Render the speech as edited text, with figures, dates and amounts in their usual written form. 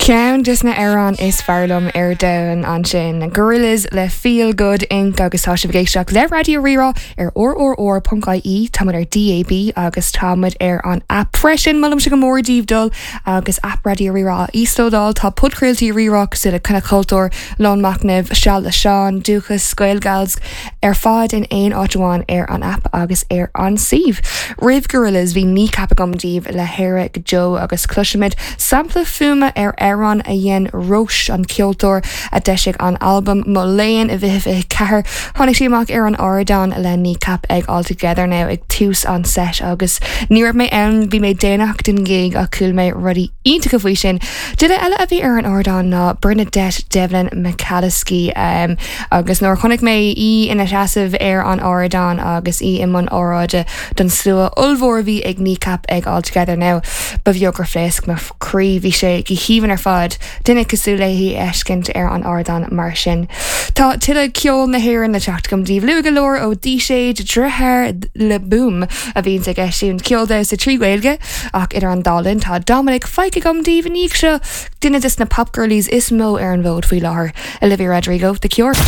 Ceann des na hamhráin is fearr liom ar domhan ansin, Gorillaz le Feel Good Inc. Agus tá sibh ag éisteacht le Raidió Rí-Rá ar rrr.ie, tá muid ar DAB agus tá muid ar an aip freisin. Molaimse go mór daoibh dul agus aip Raidió Rí-Rá a íoslódáil. Tá podchraoltaí Rí-Rá cosúil le Coinneal Chultúir, Lón Machnaimh, Seal le Seán, Dúchas, Gaelgals, ar fad in aon áit amháin ar an aip agus ar an suíomh. Roimh Gorillaz bhí Kneecap agam daoibh le hÉire go Deo agus cloisfimid sampla fuaime ar amhrán a dhein Róis, an ceoltóir a d'eisigh an albam Mo Léan i 2024. Tháinig sí amach ar an ardán le Kneecap ag All Together Now ag tús an set agus ní raibh mé ann, bhí mé déanach don ghig ach chuala mé rudaí iontacha faoi sin. Duine eile a bhí ar an ardán ná Bernadette Devlin McAliskey agus nuair a chonaic mé í ina seasamh ar an ardán agus í i mbun óráide don slua ollmhór a bhí ag Kneecap ag All Together Now, ba bheag gur phléasc mo chroí. Bhí sé go haoibhinn ar fad duine cosúil léi a fheiscint ar an ardán mar sin. Tá tuilleadh ceol na hÉireann le teacht agam daoibh luath go leor ó Díséad, deartháir le Boom a bhíonns ag eisiúint ceol damhsa trí Ghaeilge. Ach idir an dá linn tá Dominic Fike agam daoibh i ndiaidh seo, duine des na popgirlies is mó ar an bhfód faoi láthair, Olivia Rodrigo, The Cure.